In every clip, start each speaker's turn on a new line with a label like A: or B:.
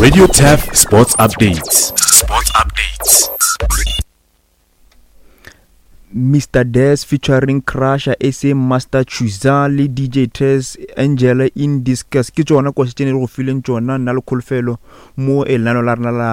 A: Radio Turf Sports Updates. Sports Updates.
B: Mr Des featuring Crusher, SA Master Chuza le DJ Tess Angela in Discuss ke tšona koše tše ne re go fileng tšona nna le kholofelo mo e lenano la rena la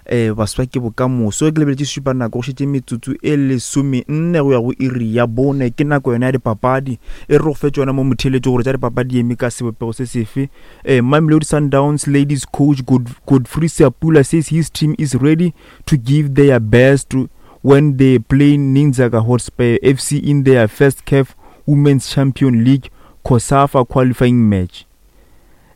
B: um baswa ke bokamoso ke lebeletše šupa nako go šetše metsotso e lesome nne go ya go iri ya bone ke nako yona ya dipapadi e re go fe tšona mo motheletše gore tša dipapadi di eme ka sebopego se sefe um Mamelodi Sundowns ladies coach God, Godfrey Seapula says his team is ready to give their best when they play Ninzaga Hotspur FC in their first CAF Women's Champion League COSAFA qualifying match.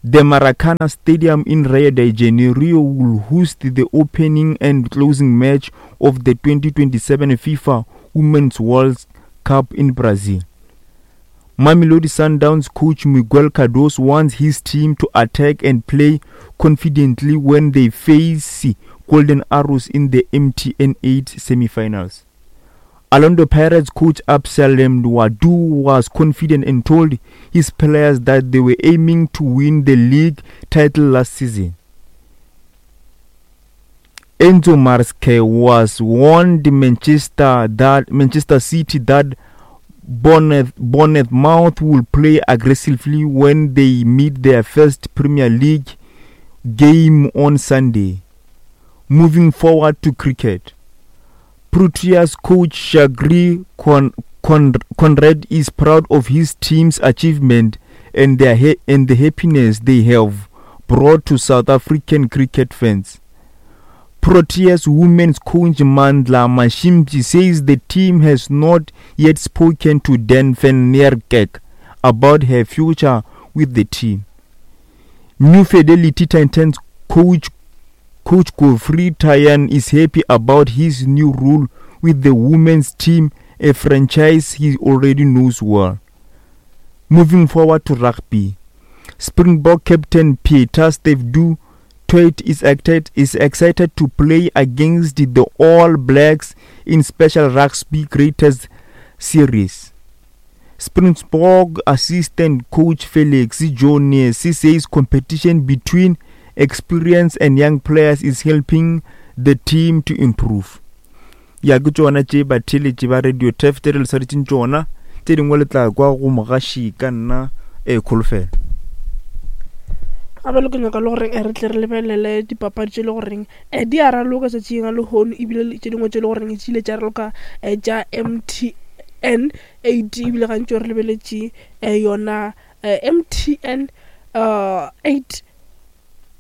B: The Maracana Stadium in Rio de Janeiro will host the opening and closing match of the 2027 FIFA Women's World Cup in Brazil. Mamelodi Sundowns coach Miguel Cardoso wants his team to attack and play confidently when they face Golden Arrows in the MTN 8 semi-finals. Orlando Pirates coach Absalem Wadu was confident and told his players that they were aiming to win the league title last season. Enzo Maresca was warned Manchester that Manchester City that Bournemouth will play aggressively when they meet their first Premier League game on Sunday. Moving forward to cricket. Proteas coach Shagri Con- Con- Conrad is proud of his team's achievement and, their ha- and the happiness they have brought to South African cricket fans. Proteas women's coach Mandla Mashimji says the team has not yet spoken to Dan van Niekerk about her future with the team. New Fidelity Titans coach Coach Godfrey Tayan is happy about his new role with the women's team, a franchise he already knows well. Moving forward to rugby, Springbok captain Peter Steve Toit is excited, is excited to play against the All Blacks in Special Rugby Greatest Series. Springbok assistant coach Felix Jones says competition between experienced and young players is helping the team to improve. Ya ke tšona tše batheeletši ba Radio Turf tše re le swaretšeng tšona tše dingwe le tla kwa go mogaši ka nna e kholofelo.
C: Gape le ke nyaka le goreng eh, re tle re lebelele dipapadi tše le goreng um di a raloka tšatšing la lehono ebile tše dingwe tše le goreng di ile tša raloka um tša mtn 8 ebile gantši re lebeletše um yona mtn 8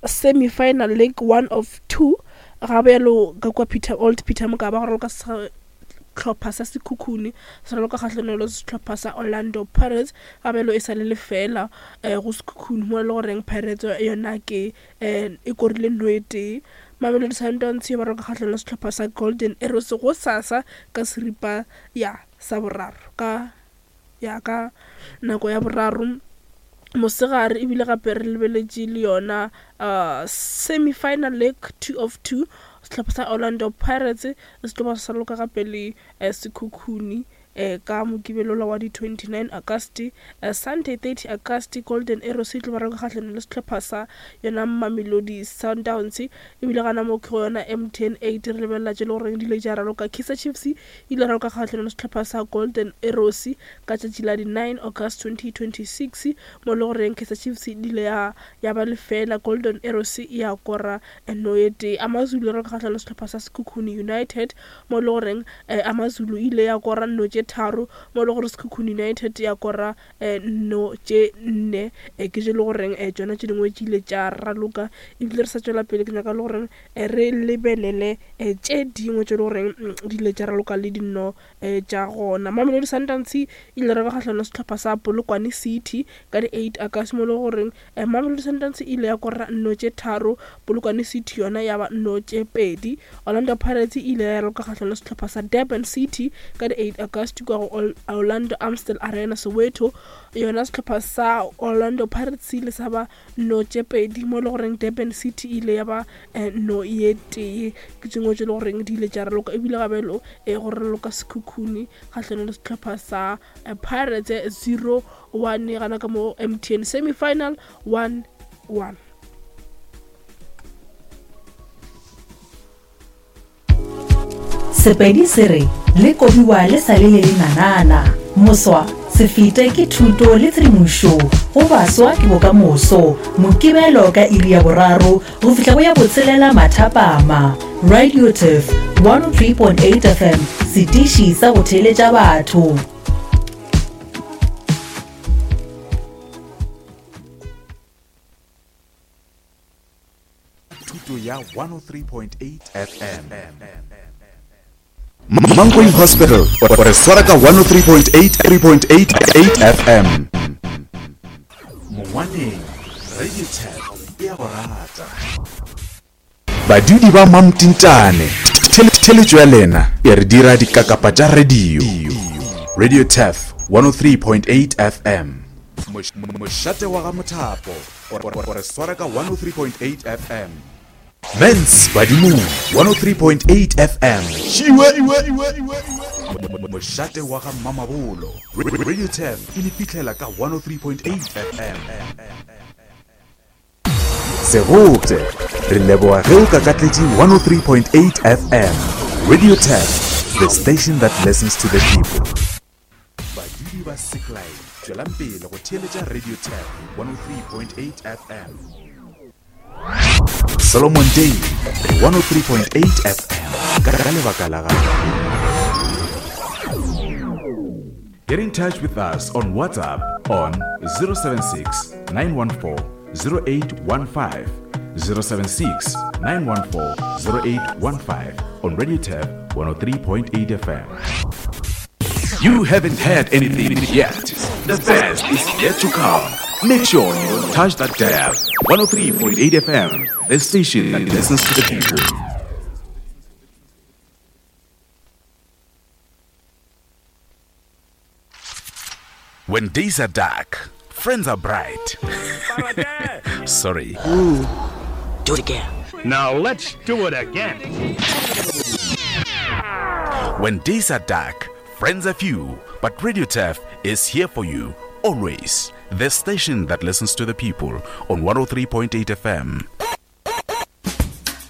C: semi-final leg one of two ga bjalo ka kua Peter Old Peter Mokaba go raloka sehlopha sa Sekhukhune se raloka kgahlanong le sehlopha sa Orlando Pirates ga bjalo e sa le lefela um go Sekhukhune mo e le goreng Pirates yona ke um e korile nno e tee Mamelodi Sundowns ba raloka kgahlanong le sehlopha sa Golden Arrows go sasa ka seripa ya sa boraro ka ya ka nako ya boraro mosegare ebile gape re lebeletše le yona uh, semi-final leg 2 of 2 sehlopha sa Orlando Pirates se tlo ba sa loka gape le eh, Sekhukhune eh, ka Mokibelo wa di 29 August eh, Sunday 30 August Golden Arrows e tlo ba raloka kgahlanong le sehlopha sa yona Mamelodi Sundowns ebile gana mo ke go yona MTN 8 re lebelela tše le goreng di ile tša raloka Kaizer Chiefs ile raloka kgahlanong le sehlopha sa Golden Arrows ka tšatši la di 9 August 2026 mo le goreng Kaizer Chiefs e ile ya ya ba lefela Golden Arrows ya kora no ye tee. Amazulu raloka kgahlanong le sehlopha sa Sekhukhune United mo le goreng eh, Amazulu ile ya kora nno tše tharo mo le gore Sekhukhune United ya kora eh, nno tše nne. Eh, ke tše le goreng eh, tšona tše dingwe tše ile tša raloka ebile re sa tšwela pele ke nyaka le goreng eh, re lebelele eh, tše dingwe tše le goreng mm, di ile tša raloka le dinno eh, tša gona. Mamelodi Sundowns e ile raloka kgahlanong le sehlopha sa Polokwane City ka di 8 August mo le goreng eh, Mamelodi Sundowns e ile ya kora nno tše tharo, Polokwane City yona ya ba nno tše pedi. Orlando Pirates e ile ya raloka kgahlanong le sehlopha sa Durban City ka di 8 August kua go Orlando Amstel Arena Soweto. Yona sehlopha sa Orlando Pirates se ile sa ba no tše pedi mo e le goreng Durban City e ile ya ba eh, no ye tee. Ke tšengwe tše le goreng di ile tša raloka ebile gabelo e go raloka Sekhukhune kgahlanong le sehlopha sa eh, Pirates 0-1 gana ka mo MTN semi-final 1-1.
D: Sepedi se re, Le kobiwa le sa le le lenanana. Moswa, se fete ke thuto le tshedimošo go baswa ke bokamoso. Mokibelo ka iri ya boraro go fihla go ya botshelela mathapama. Radio Turf 103.8 FM, setiši sa go theeletša batho.
A: Thuto ya 103.8 FM. Mankweng Hospital o re swara ka 103.8 3.88 FM. Mongwaneng Radio Tap e a go rata. Badudi ba Mamtintane, theletšo ya lena e re dira dikakapa tša radio. Radio Taf 103.8 FM. Mošate wa ga Mothapo o re swara ka 103.8 FM. Mens Badimong 103.8 FM. Šiwe! Mošate wa ga Mmamabolo. Radio Taf e le fihlela ka 103.8 FM. Segopše, re leboga ge o kakatletše 103.8 FM. Radio Tap, the station that listens to the people. Badudi ba Seklai, tšwelang pele go theeletša Radio Tap 103.8 FM. Solomon Day, 103.8 FM, ka lebaka la gago. Get in touch with us on WhatsApp on 076 914 0815 076 914 0815 on Radio Tab 103.8 FM. You haven't heard anything yet. The best is yet to come. Make sure you don't touch that dial. 103.8 FM, the station that listens to the people. When days are dark, friends are bright. Sorry.
E: Ooh, do it again.
F: Now let's do it again.
A: When days are dark, friends are few, but Radio Turf is here for you always. The station that listens to the people on 103.8 FM.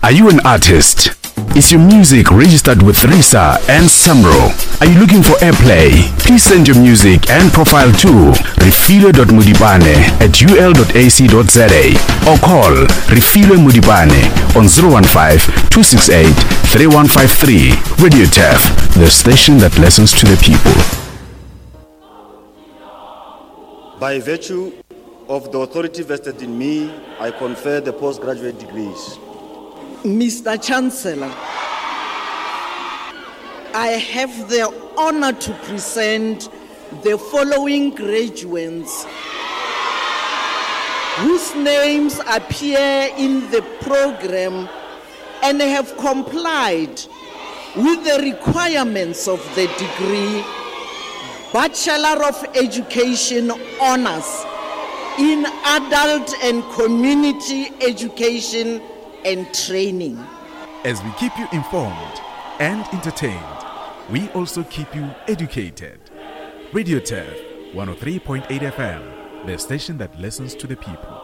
A: Are you an artist? Is your music registered with RISA and SAMRO? Are you looking for airplay? Please send your music and profile to refilwe.modibane at ul.ac.za or call Refilwe Modibane on 015 268 3153. Radio Tef, the station that listens to the people.
G: By virtue of the authority vested in me, I confer the postgraduate degrees.
H: Mr. Chancellor, I have the honor to present the following graduates whose names appear in the program and have complied with the requirements of the degree Bachelor of Education Honors in Adult and Community Education and Training.
A: As we keep you informed and entertained, we also keep you educated. Radio Turf 103.8 FM, the station that listens to the people.